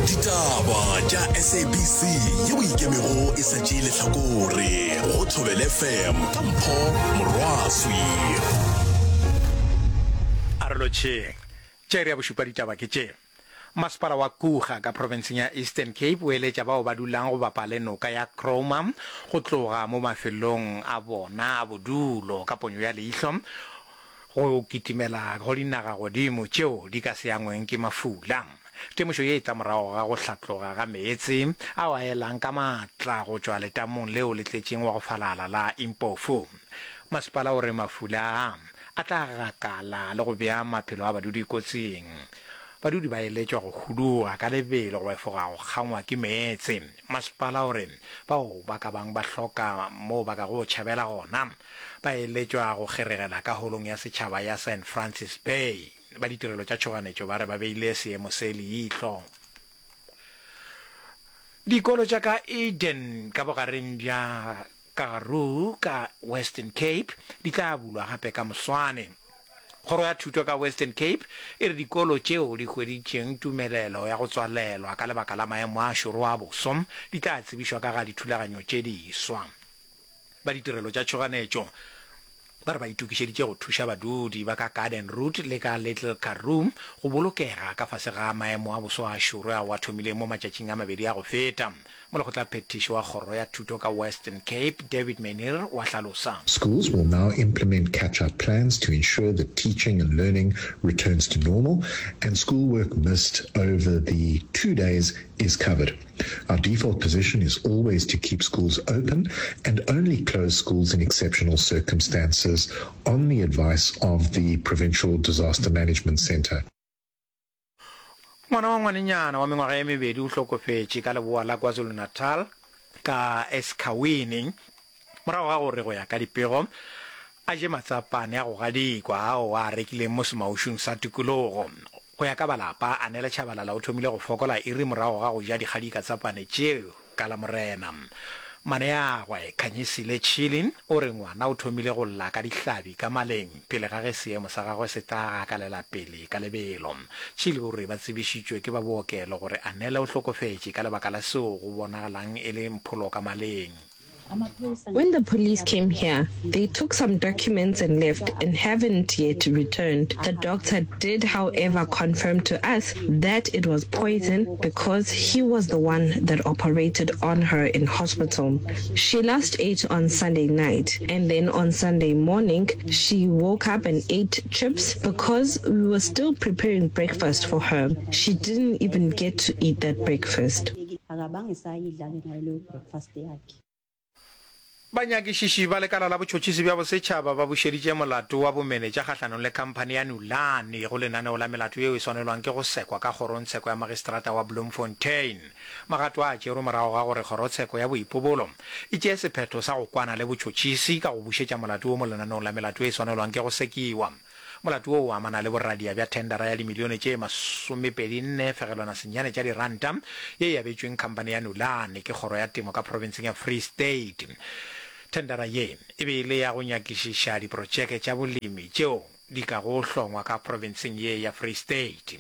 Ditaba tša SABC yeo e ikemego e sa tšee lehlakore go Thobela FM ka Mpho Morwaswi. A re lotšheng. Tša iri ya bošupa ditaba ke tše. Masepala wa Kuga ka profenseng ya Eastern Cape o eletša bao ba dulang go bapa le noka ya Krouma go tloga mo mafelong a bona a bodulo ka ponyo ya leihlo go kitimela go dinagagodimo tšeo di ka se angweng ke mafula. Temošo ye e tla morago ga go hlatloga ga meetse ao a elang ka maatla go tšwa letamong leo le tletšeng wa go falala la Impofu. Masepala o re mafula a a tla gakala le go bea maphelo a badudi kotsing. Badudi ba eletšwa go huduga ka lebelo go efoga go kgangwa ke meetse. Masepala o re bao ba ka bang ba hloka moo ba kago tšhabela gona, ba eletšwa go kgeregela ka holong ya setšhaba ya Saint Francis Bay. Ba ditirelo tša tšhoganetšo ba re ba beile seemo se leihlo. Dikolo tša ka Eden ka bogareng bja Karoo ka Western Cape di tla bulwa gape ka moswane. Kgoro ya Thuto ka Western Cape e re dikolo tšeo di hweditšeng tumelelo ya go tswalelwa ka lebaka la maemo a šoro a boso di tla tsebišwa ka ga dithulaganyo tše diswa. Ba ditirelo tša tšhoganetšo ba re ba itokišeditše go thuša badudi ba ka Garden Route le ka Little Karoo go bolokega ka fase ga maemo a boso a šoro ao a thomileng mo matšatšing a mabedi a go feta. Molekgotlaphethiši wa Kgoro ya Thuto ka Western Cape, David Meneer o a hlalosa. Schools will now implement catch-up plans to ensure that teaching and learning returns to normal and schoolwork missed over the two days is covered. Our default position is always to keep schools open and only close schools in exceptional circumstances on the advice of the Provincial Disaster Management Centre. Ngwana wa ngwanenyana wa mengwaga ye mebedi o hlokofetše ka leboa la KwaZulu-Natal ka Esikhawini morago ga gore go ya ka dipego a je matsapane a go gadikwa ao a a rekileng mo semaušung sa tikologo. Go ya ka ba lapa, Anele Chabalala o thomile go fokola iri morago ga go ja dikgadika tsa pane tšeo ka Lamorena. Maneagwe, Khanyisile Chili, o re ngwana o thomile go lla ka dihlabi ka maleng pele ga ge seemo sa gagwe se tla gakalela pele ka lebelo. Chili o re ba tsebišitšwe ke ba bookelo gore Anele o hlokofetše ka lebaka la seo go bonagalang e le mpholo ka maleng. When the police came here, they took some documents and left and haven't yet returned. The doctor did, however, confirm to us that it was poison because he was the one that operated on her in hospital. She last ate on Sunday night and then on Sunday morning she woke up and ate chips because we were still preparing breakfast for her. She didn't even get to eat that breakfast. Banyakišiši ba lekala la botšhotšhisi bja bosetšhaba ba bušeditše molato wa bomenetša kgahlanong le khamphani ya Nulane go lenaneo la melato yeo e swanelwang ke go sekwa ka kgorongtsheko ya magistrata wa Bloemfontein. Magato a a tšerwe morago ga gore kgorotsheko ya boipobolo e tšee sephetho sa go kwana le botšhotšhisi ka go bušetša molato wo mo lenaneong la melato e swanelwang ke go sekiwa. Molato wo o amana le boradia bja thendara ya dimilione tše masomepedi-nne fegelwana senyane tša diranta ye e abetšweng khamphani ya Nulane ke Kgoro ya Temo ka profenseng ya Free State. Thendara ye e be e le ya go nyakišiša diprotšeke tša bolemi tšeo di kago hlongwa ka profenseng ye ya Free State.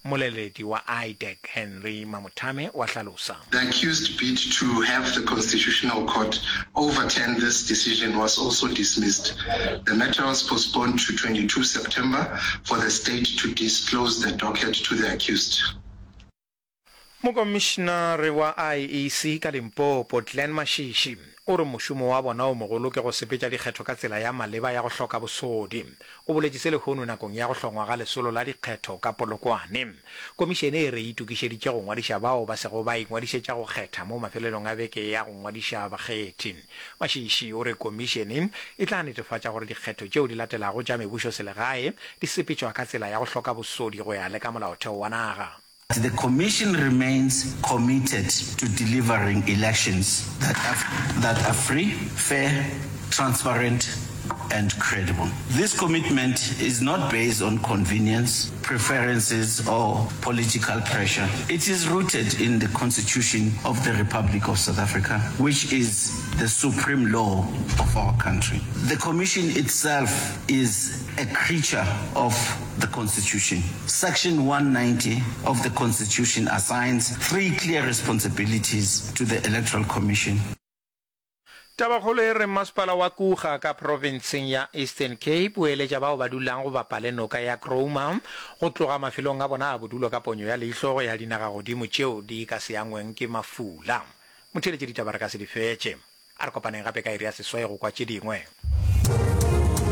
Mmoleledi wa IDAC Henry Mamothame o a hlalosa. The accused bid to have the Constitutional Court overturn this decision was also dismissed. The matter was postponed to 22 September for the state to disclose the docket to the accused. Mokomišinare wa IEC ka Limpopo, Glen Mashishi, o re mošomo wa bona o mogolo ke go sepetša dikgetho ka tsela ya maleba ya go hloka bosodi. O boletše se lehono nakong ya go hlongwa ga lesolo la dikgetho ka Polokwane. Komišene e re e itokišeditše go ngwadiša bao ba sego ba ingwadišetša go kgetha mo mafelelong a beke ya go ngwadiša bakgethi. Mashishi o re komišene e tla netefatša gore dikgetho tšeo di latelago tša mebušoselegae di sepetšwa ka tsela ya go hloka bosodi go ya le ka molaotheo wa naga. The Commission remains committed to delivering elections that are, that are free, fair, transparent, and credible. This commitment is not based on convenience, preferences or political pressure. It is rooted in the Constitution of the Republic of South Africa, which is the supreme law of our country. The Commission itself is a creature of the Constitution. Section 190 of the Constitution assigns three clear responsibilities to the Electoral Commission. Tabakgolo e re Masepala wa Kuga ka profenseng ya Eastern Cape o eletša bao ba dulang go bapa le noka ya Krouma go tloga mafelong a bona a bodulo ka ponyo ya leihlo go ya dinagagodimo tšeo di ka se angweng ke mafula. Motheeletši ditaba re ka se di fetše. A re kopaneng gape ka iri ya seswai go kwa tše dingwe.